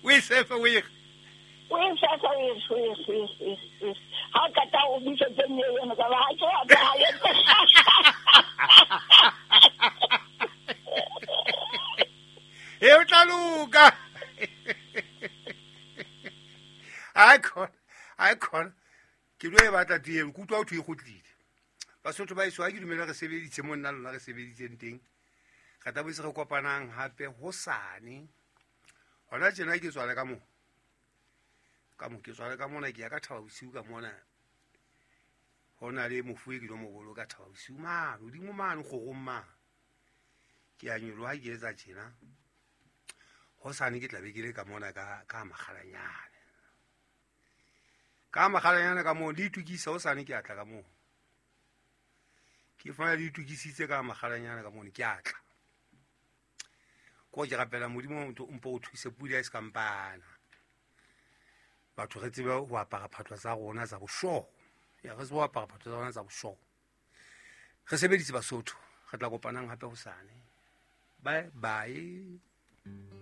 O e sefe o ere. O e sefe o ere o ere o ere o ere. Ha o qeta o busetse nyewe eno ka ba ha ke wa ka ha ye. E o tla loka. Ai khona, ai khona. Ke lo e batla tee, ke utlwa ho thwe e kgutlile. Basotho ba eso ha ke dumela re sebeditse mo nna lona re sebeditseng teng. Re tla boetse re kopanang hape hosane. Hona tjena ke tswale ka mo. Ka mo ke tswale ka mona ke ya ka Thaba Bosiu ka mona. Ho na le mofu e ke lo mo boloka Thaba Bosiu mane, hodimo mane kgorong mane. Ke a nyoloha ke etsa tjena. Hosane ke tla be ke le ka mona ka ka Makgalanyane. Ka Makgalanyane ka moo le itukisa hosane ke a tla ka moo. Ke fumana le itukisitse ka Makgalanyane ka mono ke a tla. Ko ke rapela Modimo mpo o thuse pula e se kampana. Batho re tsebe ho apara phatlo tsa rona tsa boshogo. Ya re tsebe ho apara phatlo tsa rona tsa boshogo. Re sebeditse Basotho, re tla kopanang hape hosane. Bye bye.